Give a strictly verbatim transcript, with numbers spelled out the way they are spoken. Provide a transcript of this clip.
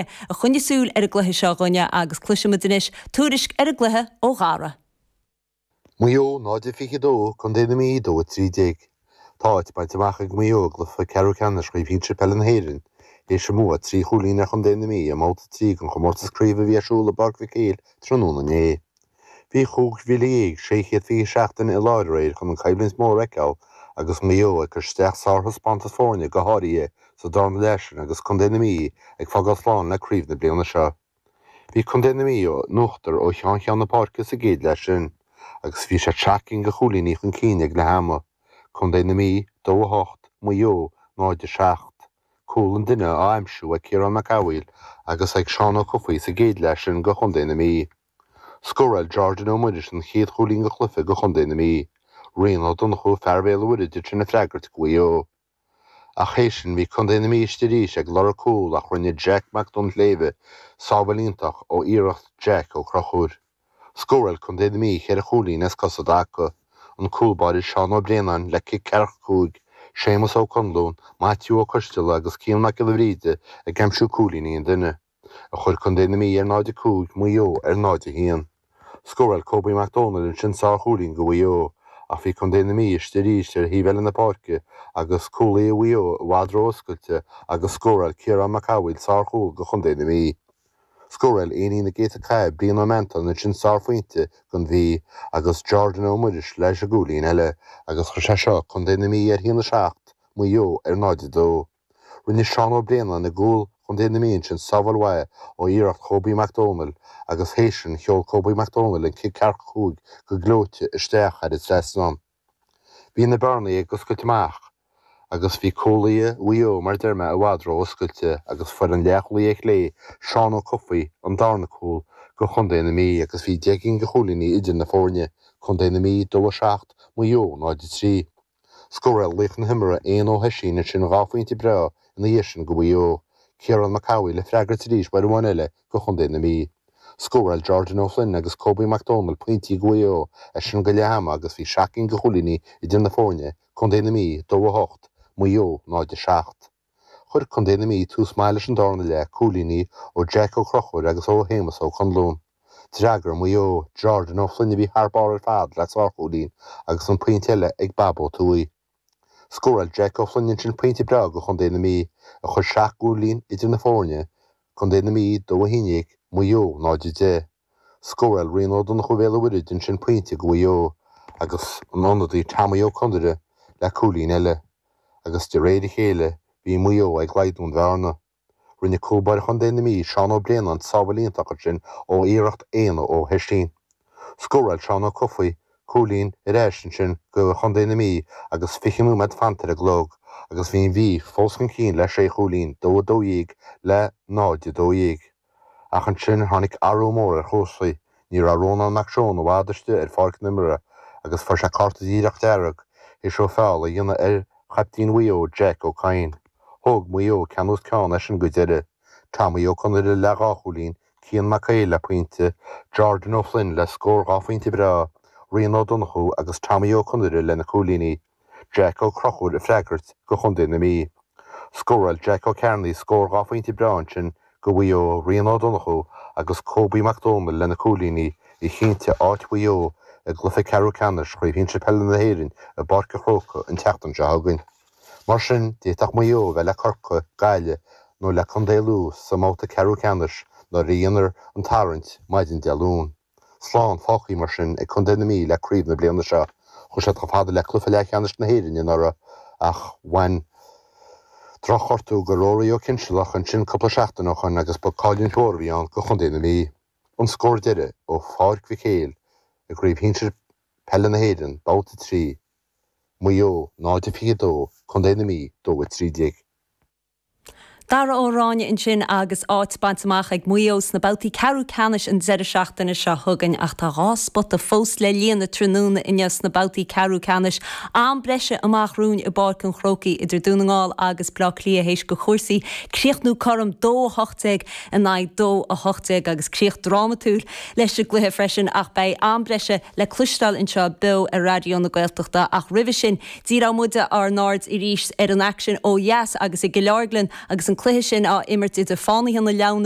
a choinnigh súil ar an gcluiche seo dhúinne agus cloisfimid anois tuairisc ar an gcluiche ó Dhara. Maigh Eo náid a fiche dó, Contae na Mí dó a trí déag. Tá áit bainte amach ag Maigh Eo i gcluiche ceathrú ceannais Chraobh Shinsir Peile na hÉireann, théis a mbua trí chúilín ar Chontae na Mí i mbabhta a trí den chomórtas craoibhe a bhí ar siúl i bPáirc Mhic Éil tráthnóna inné. Bhí cúig mhíle dhéag sé chéad fiche seacht duine i láthair aréir chun an choimhlint mhór a fheiceáil agus Maigh Eo ag cur isteach sárthaispeántas foirne go háirithe sa darna leath sin agus Contae na Mí ag fágáil slán le craobh na bliana seo. Bhí Contae na Mí in uachtar ó cheann ceann na páirce sa gcéad leath sin agus bhí siad seacht gcinn de chúilíní chun cinn ag leath ama, Contae na Mí, dó a hocht, Maigh Eo, náid a seacht. Cúl an duine á aimsiú ag Ciarán Mac Amhaigh agus ag Seán Ó Cofaigh sa gcéad leath sin do Chontae na Mí. Scóráil Jordan Ó Muiris an chéad chúilín den chluiche do Chontae na Mí. Rian Ó Donnchú, fear Bhéal an Mhuirthead ansin ag freagairt do Mhaigh Eo. Ach théis sin bhí Contae na Mí istigh arís ag lorg cúl ach rinne Jack Mac Duinnshléibhe sábháil iontach ó iarracht Jack Ó Conchúir. Scóráil Contae na Mí cheithre chúilín as cos i dtaca, an cúl báire Seán Ó Braonáin le cic ceathracha cúig, Séamus Ó Conluain, Maitiú Ó Coisteala agus Cian Mac Giolla Bhríde ag aimsiú cúilíní an duine, a chuir Contae na Mí ar náid a cúig, Maigh Eo ar náid a haon. Scóráil Kobe Mac Dónaill ansin sárchúilín do Mhaigh Eo, ach bhí Contae na Mí istigh arís ar thaobh eile na páirce agus cúlaí Mhaigh Eo i bhfad ró-oscailte agus scóráil Ciarán Mac Amhaigh sárchúl do Chontae na Mí. Scóráil éinín na gcéadta cath Brian Ó Meantáin ansin sárphointe don Mhí agus Jordan Ó Muiris leis an gcúilín eile agus chuir sé seo Contae na Mí ar haon a seacht, Maigh Eo ar náid a dó. Rinne Seán Ó Braonáin i gcúl Chontae na Mí ansin sábháil mhaith ó iarracht Kobe Mac Dónaill agus théis sin sheol Kobe Mac Dónaill an cic ceathracha cúig go gleoite isteach thar an trasnán. Bhí na bearnaí ag oscailt amach agus bhí cúlaithe Mhaigh Eo mar deir mé i bhfad ró-oscailte agus fuair an leathchúlaí ar chlé Seán Ó Cofaigh an darna cúl do Chontae na Mí agus bhí deich gcinn de chúilíní idir na foirne, Contae na Mí dó a seacht, Maigh Eo náid a trí. Scóráil laoch na himeartha Éanna Ó hOisín ansin dhá phointe breá ina dhiaidh sin do Mhaigh Eo. Ciarán Mac Amhaigh le freagairt arís uair amháin eile do Chontae na Mí. Scóráil Jordan Ó Floinn agus Kobe Mac Dónaill pointí do Mhaigh Eo as sin go leath ama agus bhí seacht gcinn de chúilíní idir na foirne, Contae na Mí, dó a hocht, Maigh Eo, náid a seacht. Chuir Contae na Mí tús maith leis an darna leath, cúilíní ó Jack Ó Conchúir agus ó Shéamus Ó Conluain. D'fhreagair Maigh Eo, Jordan Ó Floinn a bhí thar barr ar fad le sárchúilín agus an pointe eile ag Bab Ó Tuaidh. Scóráil Jack Ó Floinn ansin pointe breá do Chontae na Mí a chuir seacht gcúilín idir na foirne, Contae na Mí, dó a haon déag, Maigh Eo, náid a deich. Scóráil Rian Ó Donnchú Bhéal an Mhuirthead ansin pointe do Mhaigh Eo agus an ionadaí Tommy Ó Conaire le cúilín eile agus de réir a chéile bhí Maigh Eo ag laghdú an bhearna. Rinne cúl báire Chontae na Mí, Seán Ó Braonáin, sábháil iontach ansin ó iarracht Éanna Ó hOisín. Scóráil Seán Ó Cofaigh cúilín ar ais ansin do Chontae na Mí agus fiche nóiméad fanta ar an gclog agus bhí an Mhí fós chun cinn le sé chúilín, dó a dó dhéag le náid a dó dhéag. Ach ansin tháinig athrú mór ar chúrsaí, ní raibh Rónán Mac Seoin i bhfad istigh ar pháirc na himeartha agus fuair sé cárta díreach dearg théis dó feall a dhéanamh ar chaiptín Mhaigh Eo, Jack Ó Cadhain. Thóg Maigh Eo ceann os cionn as sin go deireadh. Tommy Ó Conaire le dhá chúilín, Cian Mac Éil le pointe, Jordan Ó Floinn le scór dhá phointe breá, Rian Ó Donnchú agus Tommy Ó Conaire lena chúilíní, Jack Ó Conchúir ag freagairt do Chontae na Mí. Scóráil Jack Ó Cearnaigh scór dhá phointe breá ansin do Mhaigh Eo, Rian Ó Donnchú agus Kobe Mac Dónaill lena cúilíní a chinntigh áit Mhaigh Eo i gcluiche ceathrú ceannais Chraobh Shinsir Peile na hÉireann i bPáirc an Chrócaigh an tseachtain seo chugainn. Mar sin, d'fhéadfadh Maigh Eo a bheith le Corcaigh, Gaillimh nó le Contae Lú sa mbabhta ceathrú ceannais nuair a dhéanfar an tarraingt maidin Dé Luain. Slán fágtha mar sin ag Contae na Mí le craobh na bliana seo. Chuaigh siad chomh fada le cluiche leathcheannais na hÉireann anuraidh ach bhain drochghortú go Rory Ó Cinsealach ansin cúpla seachtain ó shoin agus ba cailliúint mhór a bhí ann do Chontae na Mí. An scór deiridh ó Pháirc Mhic Éil i gCraobh Shinsir Peile na hÉireann, Babhta a trí, Maigh Eo, náid a fiche dó, Contae na Mí, dó a trí déag. Dara Ó Ráinne ansin agus áit bainte amach ag Maigh Eo sna babhtaí ceathrú ceannais an deireadh seachtaine seo chugainn ach tá dhá spota fós le líonadh tráthnóna inniu sna babhtaí ceathrú ceannais. Am breise amach romhainn i bPáirc an Chrócaigh idir Dún na nGall agus Bleá Cliath théis do chúrsaí críochnú cothrom dó a hocht déag in aghaidh dó a hocht déag agus críoch drámatúil leis an gcluiche freisin ach beidh am breise le cloisteáil anseo beo ar Raidió na Gaeltachta ach roimhe sin díreoidh muide ár n-aird arís ar an aicsean ó dheas agus i gCill Orglan agus an an cluiche sin á imirt idir Fánaithe na Leamhna